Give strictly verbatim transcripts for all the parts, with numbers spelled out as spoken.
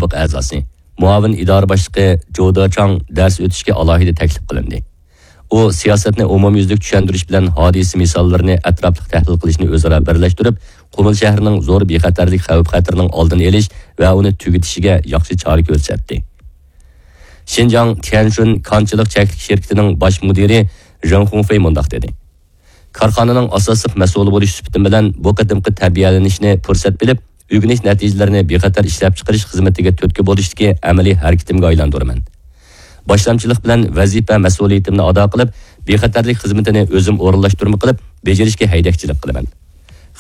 سابىق ئەزاسى، مۇئاۋىن ئىدارە باشلىقى جودا چاڭ دەرس ئۆتۈشكە ئالاھىدە تەكلىپ قىلىندى. ئۇ سىياسەتنى ئومۇميۈزلۈك چۈشەندۈرۈش بىلەن ھادىسە مىساللىرىنى ئەتراپلىق تەھلىل قىلىشنى ئۆزئارا بىرلەشتۈرۈپ، قۇمۇل شەھىرىنىڭ زور بىخەتەرلىك خەۋپ-خەتىرىنىڭ ئالدىنى ئېلىش ۋە ئۇنى تۈگىتىشىگە ياخشى چارە كۆرسەتتى. شىنجاڭ تيەنشۇن كانچىلىق چەكلىك شىركىتىنىڭ باش مۇدىرى ژېڭ خۇڭفېي مۇنداق دېدى: كارخانىنىڭ ئاساسلىق مەسئۇلى بولۇش سۈپىتىم بىلەن بۇ قېتىمقى تەربىيەلىنىشنى پۇرسەت بىلىپ، ئۆگىنىش نەتىجىلىرىنى بىخەتەر ئىشلەپچىقىرىش خىزمىتىگە تۈرتكە بولۇشتىكى ئەمەلىي ھەرىكىتىمگە ئايلاندۇرىمەن. باشلامچىلىق بىلەن ۋەزىپە مەسئۇلىيىتىمنى ئادا قىلىپ، بىخەتەرلىك خىزمىتىنى ئۆزۈم ئورۇنلاشتۇرما قىلىپ بېجىرىشكە ھەيدەكچىلىك قىلىمەن.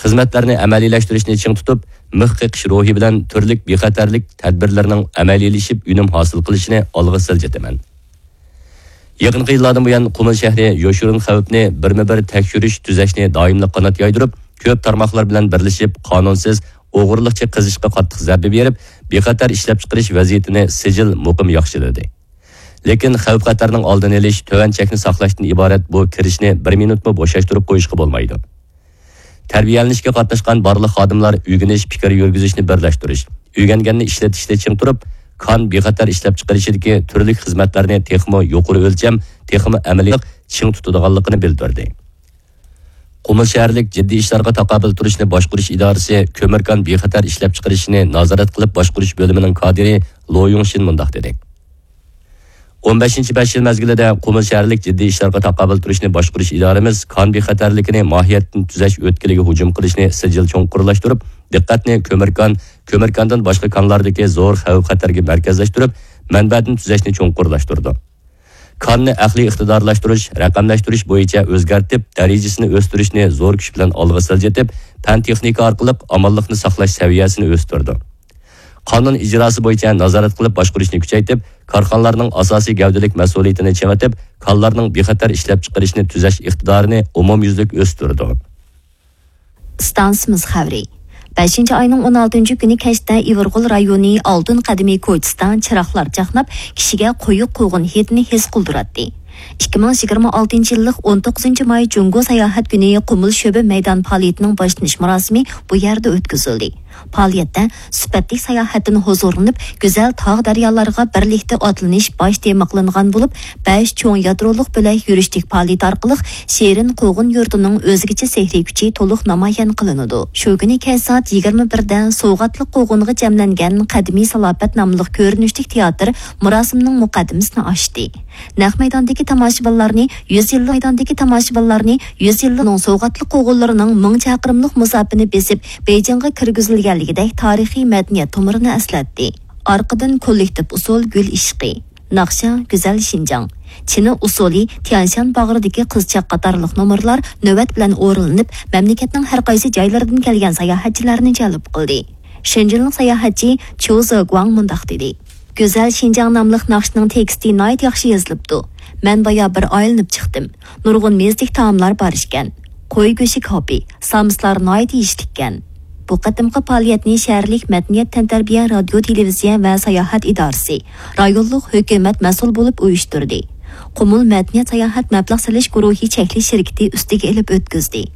خىزمەتلەرنى ئەمەلىيلەشتۈرۈشنى چىڭ تۇتۇپ، مىخ قېقىش روھى بىلەن تۈرلۈك بىخەتەرلىك تەدبىرلىرىنىڭ ئەمەلىيلىشىپ ئۈنۈم ھاسىل قىلىشىنى ئالغا سىلجىتىمەن. يېقىنقى يىللاردىن بۇيان، قۇمۇل شەھىرى يوشۇرۇن خەۋپنى بىرمۇ بىر تەكشۈرۈش، تۈزەشنى دائىملىق قانات يايدۇرۇپ، كۆپ تارماقلار بىلەن بىرلىشىپ، قانۇنسىز، ئوغرىلىقچە قېزىشقا قاتتىق زەربە بېرىپ، بىخەتەر ئىشلەپچىقىرىش ۋەزىيىتىنى سىجىل مۇقىم ياخشىلىدى. لېكىن خەۋپ-خەتەرنىڭ ئالدىنى ئېلىش، تۆۋەن چەكنى ساقلاشتىن ئىبارەت بۇ كىرىشنى بىر مىنۇتمۇ بوشاشتۇرۇپ قويۇشقا بولمايدۇ. تەربىيەلىنىشكە قاتناشقان بارلىق خادىملار ئۆگىنىش، پىكىر يۈرگۈزۈشنى بىرلەشتۈرۈش، ئۆگەنگەننى ئىشلىتىشتە چىڭ تۇرۇپ، كان بىخەتەر ئىشلەپچىقىرىشىدىكى تۈرلۈك خىزمەتلەرنى تېخىمۇ يۇقىرى ئۆلچەم، تېخىمۇ ئەمەلىي چىڭ تۇتىدىغانلىقىنى بىلدۈردى. قۇمۇل شەھەرلىك جىددىي ئىشلارغا تاقابىل تۇرۇشنى باشقۇرۇش ئىدارىسى كۆمۈركان بىخەتەر ئىشلەپچىقىرىشىنى نازارەت قىلىپ باشقۇرۇش بۆلۈمىنىڭ كادىرى لو يۇڭشىن مۇنداق دېدى: ئون بەشىنچى بەش يىل مەزگىلىدە قۇمۇل شەھەرلىك جىددىي ئىشلارغا تاقابىل تۇرۇشنى باشقۇرۇش ئىدارىمىز كان بىخەتەرلىكىنى ماھىيەتتىن تۈزەش ئۆتكىلىگە ھۇجۇم قىلىشنى سىجىل چوڭقۇرلاشتۇرۇپ، دىققەتنى كۆمۈركان، كۆمۈركاندىن باشقا كانلاردىكى زور خەۋپ-خەتەرگە مەركەزلەشتۈرۈپ، مەنبەدىن تۈزەشنى چوڭقۇرلاشتۇردى. كاننى ئەقلىي ئىقتىدارلاشتۇرۇش، رەقەملەشتۈرۈش بويىچە ئۆزگەرتىپ، دەرىجىسىنى ئۆستۈرۈشنى زور كۈچ بىلەن ئالغا سىلجىتىپ، پەن-تېخنىكا ئارقىلىق ئامانلىقنى ساقلاش سەۋىيەسىنى ئۆستۈردى. قانۇن ئىجراسى بويىچە نازارەت قىلىپ باشقۇرۇشنى كۈچەيتىپ، كارخانىلارنىڭ ئاساسىي گەۋدىلىك مەسئۇلىيىتىنى چىڭىتىپ، كانلارنىڭ بىخەتەر ئىشلەپچىقىرىشنى تۈزەش ئىقتىدارىنى ئومۇميۈزلۈك ئۆستۈردى. ئىستانسىمىز خەۋىرى. بەشىنچى ئاينىڭ ئون ئالتىنچى كۈنى كەچتە ئىۋىرغول رايونى ئالتۇن قەدىمى كوچىسىدا چىراغلار چاقناپ، كىشىگە قويۇق قوغۇن ھىدىنى ھېس قىلدۇراتتى. ئىككى مىڭ يىگىرمە ئالتىنچى يىللىق ئون توققۇزىنچى ماي جۇڭگو ساياھەت كۈنى قۇمۇل شۆبە مەيدان پائالىيىتىنىڭ باشلىنىش مۇراسىمى بۇ يەردە ئۆتكۈزۈلدى. پائالىيەتتە سۈپەتلىك ساياھەتتىن ھۇزۇرلىنىپ، گۈزەل تاغ-دەريالارغا بىرلىكتە ئاتلىنىش باش تېما قىلىنغان بولۇپ، بەش چوڭ يادرولۇق بۆلەك يۈرۈشلۈك پائالىيىتى ئارقىلىق شېرىن قوغۇن يۇرتىنىڭ ئۆزگىچە سېھرىي كۈچى تولۇق نامايان قىلىنىدۇ. شۇ كۈنى كەچ سائەت يىگىرمە بىردە سوۋغاتلىق قوغۇنغا جەملەنگەن قەدىمىي سالاپەت ناملىق كۆرۈنۈشلۈك تىياتىر مۇراسىمنىڭ مۇقەددىمىسىنى ئاچتى. نەق مەيداندىكى تاماشىبىنلارنى يۈز يىللىق، مەيداندىكى تاماشىبىنلارنى يۈز يىللىق سوۋغاتلىق قوغۇنلىرىنىڭ مىڭ چاقىرىملىق مۇساپىنى بېسىپ، بېيجىڭغا كىرگۈزۈلگەنلىكىدەك تارىخىي مەدەنىيەت تومۇرىنى ئەسلەتتى. ئارقىدىن كوللېكتىپ ئۇسسۇل گۈل ئىشقى، ناخشا گۈزەل شىنجاڭ، چىنا ئۇسسۇلى تيەنشان باغرىدىكى قىزچاق قاتارلىق نومۇرلار نۆۋەت بىلەن ئورۇنلىنىپ، مەملىكەتنىڭ ھەر قايسى جايلىرىدىن كەلگەن ساياھەتچىلەرنى جەلپ قىلدى. شېنجېنلىق ساياھەتچى چيۇ زېگۇاڭ مۇنداق دېدى: گۈزەل شىنجاڭ ناملىق ناخشىنىڭ تېكىستى ناھايىتى ياخشى يېزىلىپتۇ. مەن بايا بىر ئايلىنىپ چىقتىم. نۇرغۇن مېزىلىك تائاملار بار ئىكەن. قوي گۆشى كاپى، سامسىلار ناھايىتى يېيىشلىككەن. بۇ قېتىمقى پائالىيەتنى شەھەرلىك مەدەنىيەت، تەنتەربىيە، رادىيو، تېلېۋىزىيە ۋە ساياھەت ئىدارىسى، رايونلۇق ھۆكۈمەت مەسئۇل بولۇپ ئۇيۇشتۇردى. قۇمۇل مەدەنىيەت ساياھەت مەبلەغ سېلىش گۇرۇھى چەكلىك شىركىتى ئۈستىگە ئېلىپ ئۆتكۈزدى.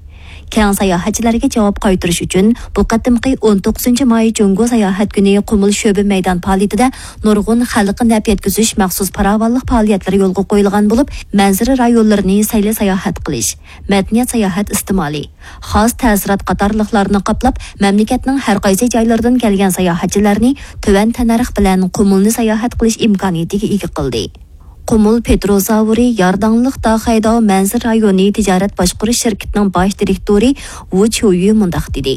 كەڭ ساياھەتچىلەرگە جاۋاب قايتۇرۇش ئۈچۈن، بۇ قېتىمقى ئون توققۇزىنچى ماي جۇڭگو ساياھەت كۈنى قۇمۇل شۆبە مەيدان پائالىيىتىدە نۇرغۇن خەلققە نەپ يەتكۈزۈش مەخسۇس پاراۋانلىق پائالىيەتلىرى يولغا قويۇلغان بولۇپ، مەنزىرە رايونلىرىنى سەيلە ساياھەت قىلىش، مەدەنىيەت ساياھەت ئىستېمالى، خاس تەسىرات قاتارلىقلارنى قاپلاپ، مەملىكەتنىڭ ھەر قايسى جايلىرىدىن كەلگەن ساياھەتچىلەرنى تۆۋەن تەننەرخ بىلەن قۇمۇلنى ساياھەت قىلىش ئىمكانىيىتىگە ئىگە قىلدى. قۇمۇل پېتروزاۋرى يارداڭلىق داخەيداۋ مەنزىرە رايونى تىجارەت باشقۇرۇش شىركىتىنىڭ باش دىرېكتورى ۋۇ چيۇيۈ مۇنداق دېدى: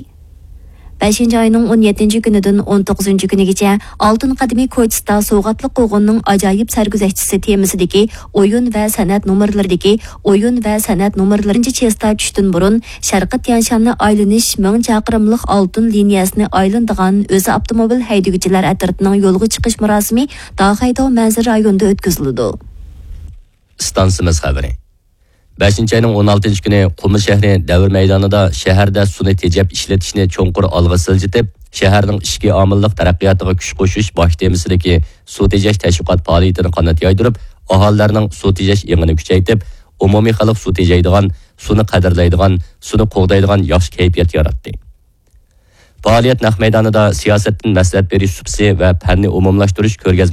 بەشىنچى ئاينىڭ ئون يەتتىنچى كۈنىدىن ئون توققۇزىنچى كۈنىگىچە ئالتۇن قەدىمىي كوچىسىدا سوۋغاتلىق قوغۇننىڭ ئاجايىپ سەرگۈزەشتىسى تېمىسىدىكى ئويۇن ۋە سەنئەت نومۇرلىرىدىكى ئويۇن ۋە سەنئەت نومۇرلىرىنچە چېستا چۈشتىن بۇرۇن شەرقىي تيەنشاننى ئايلىنىش مىڭ چاقىرىملىق ئالتۇن لىنىيەسىنى ئايلىنىدىغان ئۆزى ئاپتوموبىل ھەيدىگۈچىلەر ئەترىتىنىڭ يولغا چىقىش مۇراسىمى داخەيداۋ مەنزىرە رايونىدا ئۆتكۈزۈلىدۇ. ئىستانسىمىز خەۋىرى. بەشىنچى ئاينىڭ ئون ئالتىنچى كۈنى قۇمۇل شەھىرى دەۋر مەيدانىدا شەھەردە سۇنى تېجەپ ئىشلىتىشنى چوڭقۇر ئالغا سىلجىتىپ، شەھەرنىڭ ئىچكى ئامىللىق تەرەققىياتىغا كۈچ قوشۇش باش تېمىسىدىكى سۇ تېجەش تەشۋىقات پائالىيىتىنى قانات يايدۇرۇپ، ئاھالىلەرنىڭ سۇ تېجەش ئېڭىنى كۈچەيتىپ، ئومۇمىي خەلق سۇ تېجەيدىغان، سۇنى قەدىرلەيدىغان، سۇنى قوغدايدىغان ياخشى كەيپىيات ياراتتى. پائالىيەت نەق مەيدانىدا سىياسەتتىن مەسلىھەت بېرىش سۇپىسى ۋە پەننى ئومۇملاشتۇرۇش كۆرگەزمە